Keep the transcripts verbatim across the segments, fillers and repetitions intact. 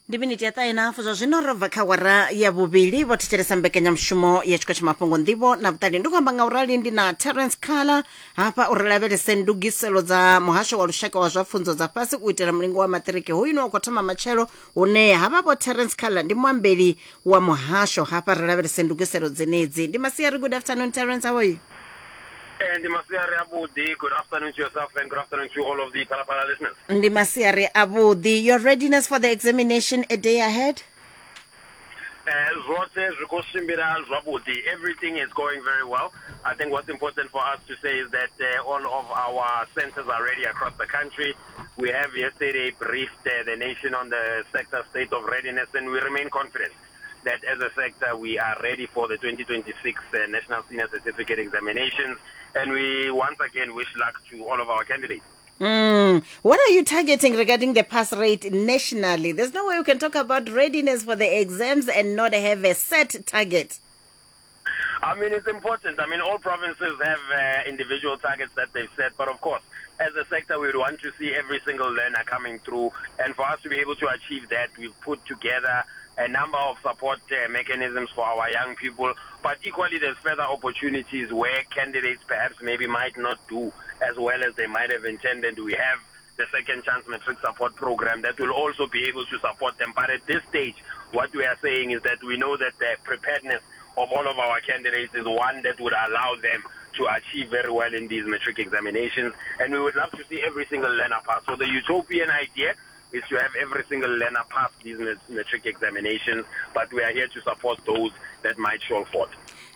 Ndi miniti ya ṱahe na hafu zwa zwino ro bva kha wara ya vhuvhili vho thetshelesa mbekanyamushumo ya tshiko tsha mafhungo nḓivho na vhuṱali. Ndi khou amba nga urali ndi na Terence Khala hafha uri lavhelese ndugiselo dza muhasho wa lushaka wa zwa pfunzo dza fhasi u itela mulingo wa maṱiriki hoyu une wa khou thoma matshelo, hune havha vho Terence Khala ndi muambeli wa muhasho hafha ri lavhelese ndugiselo dzenedzi. Ndi masiari, good afternoon Terence, how are you? And masiari avhuḓi, good afternoon to yourself and good afternoon to all of the Phalaphala listeners. Ndi masiari avhuḓi. Your readiness for the examination a day ahead? Uh, zwoṱhe zwi khou tshimbila zwavhuḓi. Everything is going very well. I think what's important for us to say is that uh, all of our centers are ready across the country. We have yesterday briefed uh, the nation on the sector state of readiness, and we remain confident that as a sector we are ready for the twenty twenty-six uh, National Senior Certificate Examinations, and we once again wish luck to all of our candidates. Mm. What are you targeting regarding the pass rate nationally? There's no way you can talk about readiness for the exams and not have a set target. I mean, it's important. I mean, all provinces have uh, individual targets that they've set, but of course, as a sector, we would want to see every single learner coming through, and for us to be able to achieve that, we've put together a number of support uh, mechanisms for our young people, but equally there's further opportunities where candidates perhaps maybe might not do as well as they might have intended. We have the Second Chance Matric Support Program that will also be able to support them. But at this stage, what we are saying is that we know that the preparedness of all of our candidates is one that would allow them to achieve very well in these matric examinations, and we would love to see every single learner pass. So the utopian idea is to have every single learner pass these matric examinations, but we are here to support those that might fall short.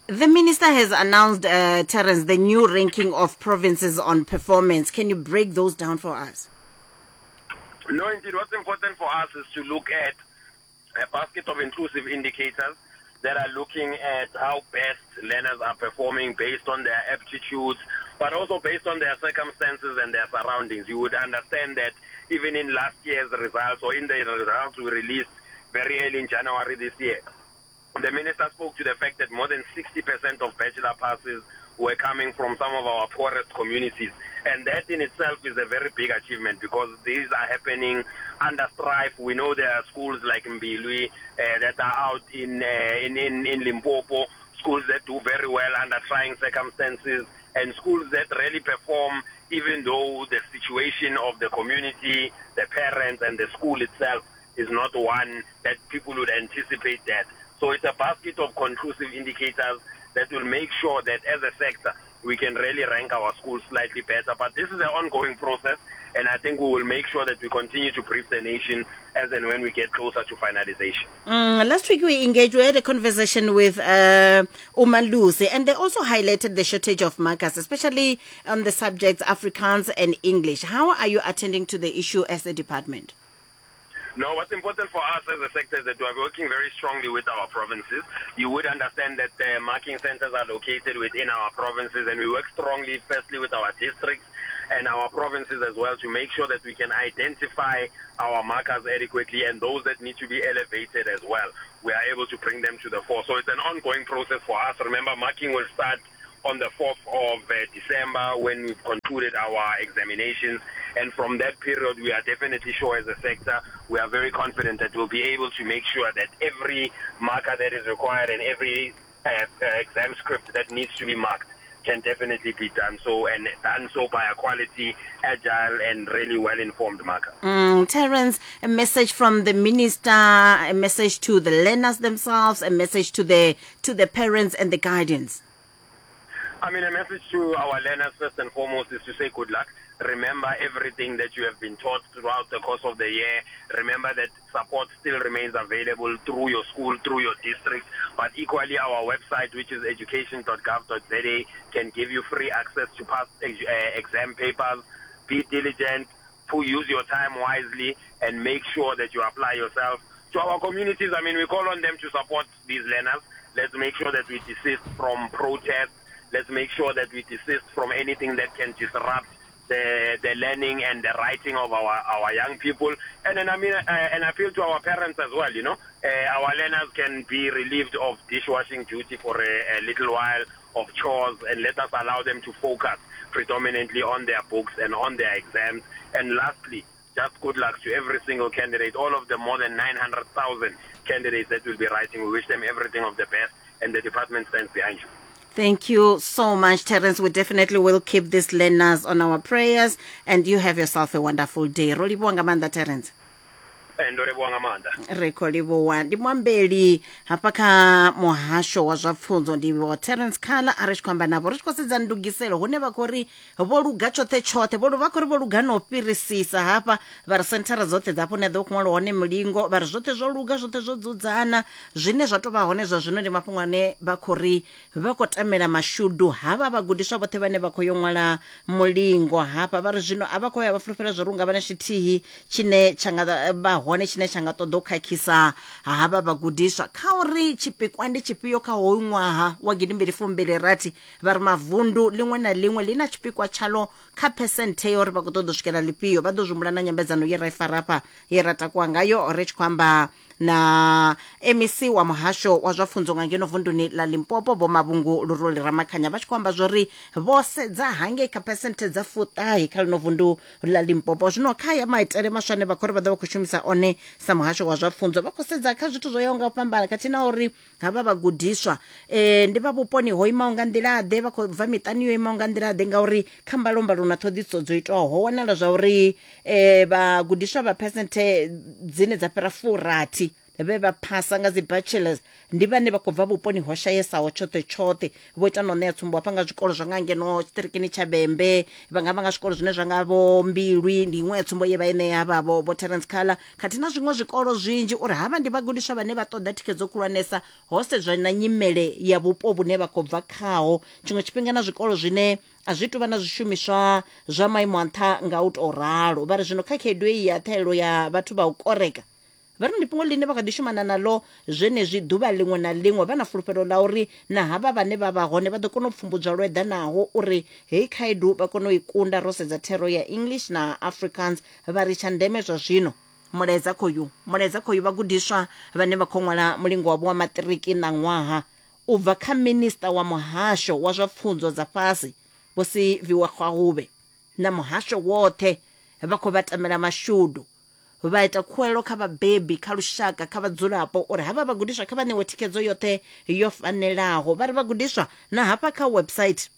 The minister has announced, uh, Terence, the new ranking of provinces on performance. Can you break those down for us? No, indeed. What's important for us is to look at a basket of inclusive indicators that are looking at how best learners are performing based on their aptitudes, but also based on their circumstances and their surroundings. You would understand that even in last year's results, or in the results we released very early in January this year, the minister spoke to the fact that more than sixty percent of bachelor passes were coming from some of our poorest communities. And that in itself is a very big achievement, because these are happening under strife. We know there are schools like Mbilwi uh, that are out in, uh, in, in, in Limpopo, schools that do very well under trying circumstances, and schools that really perform even though the situation of the community, the parents, and the school itself is not one that people would anticipate that. So it's a basket of conclusive indicators that will make sure that as a sector, we can really rank our schools slightly better. But this is an ongoing process, and I think we will make sure that we continue to brief the nation as and when we get closer to finalization. Mm, last week we engaged, we had a conversation with uh, Umalusi, and they also highlighted the shortage of markers, especially on the subjects Afrikaans and English. How are you attending to the issue as a department? No, what's important for us as a sector is that we are working very strongly with our provinces. You would understand that the marking centers are located within our provinces, and we work strongly firstly with our districts and our provinces as well to make sure that we can identify our markers adequately and those that need to be elevated as well. We are able to bring them to the fore. So it's an ongoing process for us. Remember, marking will start on the fourth of December when we've concluded our examinations, and from that period we are definitely sure as a sector, we are very confident that we'll be able to make sure that every marker that is required and every uh, uh, exam script that needs to be marked can definitely be done so, and done so by a quality, agile, and really well-informed marker. Mm, Terence, a message from the minister, a message to the learners themselves, a message to the to the parents and the guardians. I mean, a message to our learners first and foremost is to say good luck. Remember everything that you have been taught throughout the course of the year. Remember that support still remains available through your school, through your district, but equally our website, which is education dot gov dot z a, can give you free access to past ex- uh, exam papers. Be diligent, use your time wisely, and make sure that you apply yourself. To our communities, I mean, we call on them to support these learners. Let's make sure that we desist from protests. Let's make sure that we desist from anything that can disrupt the, the learning and the writing of our, our young people. And then, I mean, uh, an appeal to our parents as well, you know. Uh, our learners can be relieved of dishwashing duty for a, a little while, of chores, and let us allow them to focus predominantly on their books and on their exams. And lastly, just good luck to every single candidate, all of the more than nine hundred thousand candidates that will be writing. We wish them everything of the best, and the department stands behind you. Thank you so much, Terence. We definitely will keep these learners on our prayers, and you have yourself a wonderful day. Ro livhuwa nga maanḓa, Terence. Ndo livhuwa nga maanḓa. Ri khou livhuwa. Ndi muambeli hafha kha muhasho wa zwa pfunzo, ndi vho Terence Khala, a ri tshi khou amba navho ri tshi khou sedza ndugiselo hune vha khou ri vho luga tshoṱhe tshoṱhe, vho vha khou ri vho luga no fhirisisa hafha, vha ri senthara dzoṱhe dza hafho hune ḓo khou ṅwalwa hone mulingo, vha ri zwoṱhe zwo luga, zwoṱhe zwo dzudzana. Zwine zwa tou vha hone zwa zwino ndi mafhungo ane vha khou ri vha khou tamela mashudu havha vhagudiswa vhoṱhe vhane vha khou yo ṅwala mulingo hafha. Vha ri zwino a vha khou ya vha fulufhela zwo ri unga vha na tshithihi tshine tsha nga vha hone tshine tsha nga ṱoḓa u khakhisa havha vhagudiswa. Kha uri tshipikwa ndi tshifhio kha hoyu ṅwaha wa gidimbili fumbili rathi, vha ri mavundu ḽiṅwe na ḽiṅwe ḽi na tshipikwa tshalo kha phesenthe ya uri vha khou ṱoḓa u swikela ḽifhio. Vha ḓo zwi humbula na nyambedzano ye ra i fara hafha ye ra takuwa ngayo ri tshi khou amba na M E C wa muhasho wa zwa pfunzo nga ngeno vunduni ḽa Limpopo, Vho Mavhungu Luruli Ramakhanya, vha tshi khou amba zwori vho sedza hangei kha phesenthe dza fuṱahe kha ḽino vundu ḽa Limpopo. Zwino kha ya maitele maswa ane vha khou ri vha ḓo vha khou shumisa one sa muhasho wa zwa pfunzo, vha khou sedza kha zwithu zwo yaho nga u fhambana, khathihi na uri havha vhagudiswa eh, ndi vha vhuponi ho imaho nga nḓila ḓe, vha khou bva miṱani yo imaho nga nḓila ḓe, ngauri kha mbalombalo na ṱhoḓisiso dzo itwaho ho wanala zwa uri eh, vhagudiswa vha phesenthe dzine dza fhira furathi vhe vha phasa nga dzi bachelors ndi vhane vha khou bva vhuponi ho shayesaho tshoṱhe tshoṱhe. Vho ita no ṋea tsumbo hafha nga zwikolo zwa nga ngeno tshiṱirikini tsha Vhembe, vha nga vha nga zwikolo zwine zwa nga vho Mbilwi, ndi iṅwe ya tsumbo ye vha i ṋea havha vho vho Terence Khala, khathihi na zwiṅwe zwikolo zwinzhi, uri havha ndi vhagudiswa vhane vha ṱoḓa thikhedzo khulwanesa ho sedzwa na nyimele ya vhupo vhune vha khou bva khaho. Tshiṅwe tshifhinga na zwikolo zwine a zwi tuvha na zwishumiswa zwa maimo a nṱha nga u tou ralo. Vha ri zwino kha khaedu iyi ya ṱhahelelo ya vhathu vha u koreka, vha ri ndi fhungo ḽine vha kha ḓi shumana naḽo zwenezwi ḓuvha ḽiṅwe na ḽiṅwe, vha na fulufhelo ḽa uri na havha vhane vha vha hone vha ḓo kona u pfumbudzwa lwo eḓanaho uri heyi khaedu vha kone u i kunda. Ro sedza thero ya English na Afrikaans, vha ri tsha ndeme zwa zwino mulaedza khoyu mulaedza khoyu vhagudiswa vhane vha khou ṅwala mulingo wavho wa maṱiriki na ṅwaha u bva kha minista wa muhasho wa zwa pfunzo dza fhasi Vho Siviwe Gwarube na muhasho woṱhe, vha khou vha tamela mashudu. Vha ita khuwelelo kha vhabebi, kha lushaka, kha vhadzulapo uri havha vhagudiswa kha vha ṋewe thikhedzo yoṱhe yo fanelaho. Vha ri vhagudiswa na hafha kha website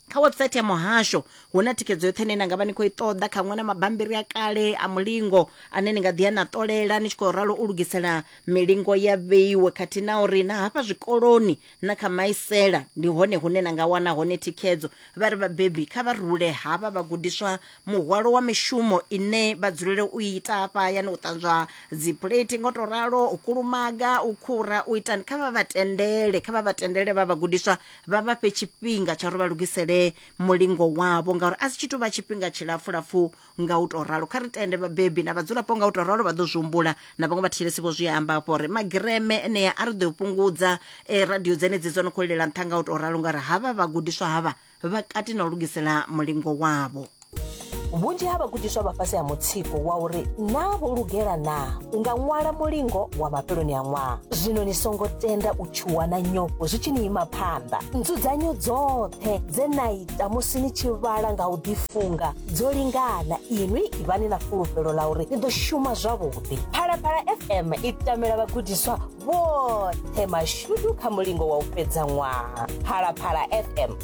kha website ya muhasho hu na thikhedzo yoṱhe ine na nga vha ni khou i ṱoḓa, khaṅwe na mabambiri a kale a mulingo ane ni nga ḓi ya na ṱolela ni tshi khou ralo u lugisela milingo ya vheiwe, khathihi na uri na hafha zwikoloni na kha maisela ndi hone hune na nga wana hone thikhedzo. Vha ri vhabebi kha vha rule havha vhagudiswa muhwalo wa mishumo ine vha dzulele u ita hafha hayani, u ṱanzwa dzi plate ngo to ralo, u kulumaga, u khura, u itani, kha vha vha tendele kha vha vha tendele vha vhagudiswa vha vha fhe tshifhinga tsha uri vha lugisele mulingo wavho, ngauri a si tshi tou vha tshifhinga tshilapfulapfu nga u tou ralo. Kha ri tende vhabebi na vhadzulapo nga u tou ralo vha ḓo zwi humbula, na vhaṅwe vhathetshelesi vho zwi amba hafho uri magireme enea a ri ḓo fhungudza eh, radio dzenedzi dzo no khou lilela nṱha nga u tou ralo, ngauri havha vhagudiswa havha vha kati na u lugisela mulingo wavho. Vhunzhi ha vhagudiswa vha fhasi ha mutsiko wa uri naa vho lugela naa u nga ṅwala mulingo wa mafheloni a ṅwaha. Zwino ni songo tenda u tshuwa na nyofho zwi tshi ni ima phanḓa. Nzudzanyo dzoṱhe dze na ita musi ni tshi vhala nga u ḓifunga dzo lingana. Inwi ivhani na fulufhelo ḽa uri ni ḓo shuma zwavhuḓi. Phalaphala F M i tamela vhagudiswa vhoṱhe mashudu kha mulingo wa u fhedza ṅwaha. Phalaphala F M.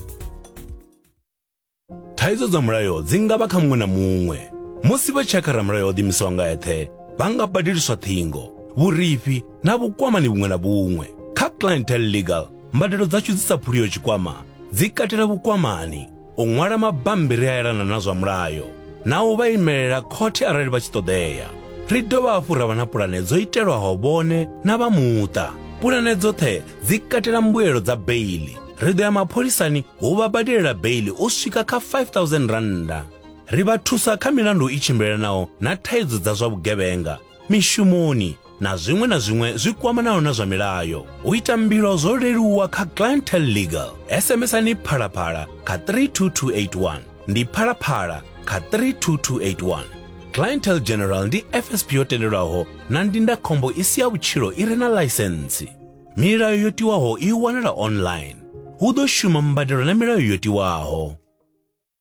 Thaidzo dza mulayo dzi nga vha kha muṅwe na muṅwe. Musi vha tshi ya kha ramulayo o ḓiimisaho nga eṱhe, vha nga badeliswa ṱhingo, vhurifhi na vhukwamani vhuṅwe na vhuṅwe. Kha Clientele Legal, mbadelo dzashu dzi sa phuliho tshikwama dzi katela vhukwamani, u ṅwala mabambiri a elana na zwa mulayo, na u vha imelela khothe arali vha tshi ṱoḓea. Ri dovha hafhu ra vha na pulane dzo itelwaho vhone na vha muṱa. Pulane dzoṱhe dzi katela mbuelo dza beili. Ri ḓo ya mapholisani hu vha badelela beili u swika kha five thousand randa. Ri vha thusa kha milandu i tshimbilelanaho na thaidzo dza zwa vhugevhenga, mishumoni na zwiṅwe na zwiṅwe zwi kwamanaho na zwa milayo. U ita mbilo zwo leluwa kha Clientele Legal. S M S ani Phalaphala kha three two two eight one. Ndi Phalaphala kha three two two eight one. Clientele General ndi F S P yo tendelwaho na ndindakhombo i si ya vhutshilo i re na ḽaisentsi. Milayo yo tiwaho i wanala online. Hu ḓo shuma mbadelo na milayo yo tiwaho.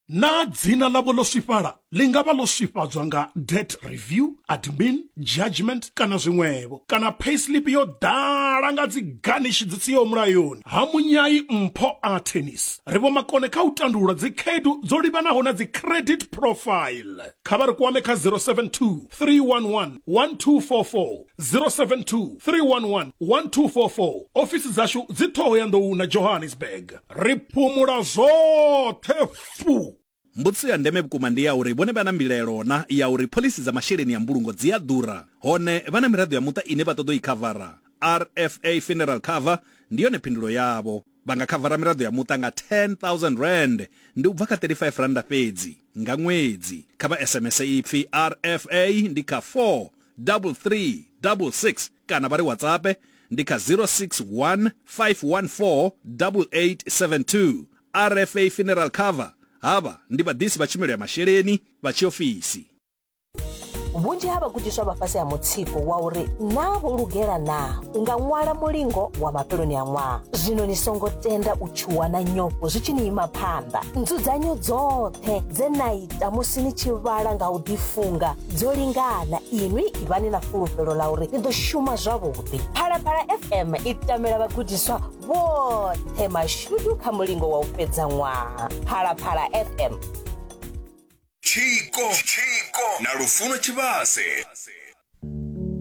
Na dzina ḽavho ḽo swifhala Ḽi nga vha ḽo swifhadzwa nga debt review, admin, judgment kana zwiṅwevho, kana payslip yo ḓala nga dzi garnish dzi siho mulayoni. Ha Munyai Mpho Attorneys ri vho makone kha u tandulula dzi khaedu dzo livhanaho na dzi credit profile. Kha vha ri kwame kha zero seven two, three one one, one two four four, zero seven two, three one one, one two four four. Ofisi dzashu dzi Thohoyandou na Johannesburg. Ri phumula zwoṱhe fu. Mbudziso ya ndeme vhukuma ndi ya uri vhone vha na mbilaelo na ya uri phoḽisi dza masheleni ya mbulungo dzi a ḓura, hone vha na miraḓo ya muṱa ine vha ṱoḓa u i khavara. R F A Funeral Cover ndi yone phindulo yavho. Vha nga khavara miraḓo ya muṱa nga ten thousand rand, ndi u bva kha thirty-five randa fhedzi nga ṅwedzi. Kha vha S M S ipfi R F A ndi kha four double three double six kana vha ri WhatsApp ndi kha zero six one, five one four, double eight seven two. R F A Funeral Cover, havha ndi vhaḓisi vha tshumelo ya masheleni vha tshiofisi. Vhunzhi ha vhagudiswa vha fhasi ha mutsiko wa uri naa vho lugela naa u nga ṅwala mulingo wa mafheloni a ṅwaha. Zwino ni songo tenda u tshuwa na nyofho zwi tshi ni ima phanḓa. Nzudzanyo dzoṱhe dze na ita musi ni tshi vhala nga u ḓifunga dzo lingana. Inwi ivhani na fulufhelo ḽa uri ni ḓo shuma zwavhuḓi. Phalaphala F M i tamela vhagudiswa vhoṱhe mashudu kha mulingo wa u fhedza ṅwaha. Phalaphala F M. Tshiko, Tshiko na Lufuno Tshivhase.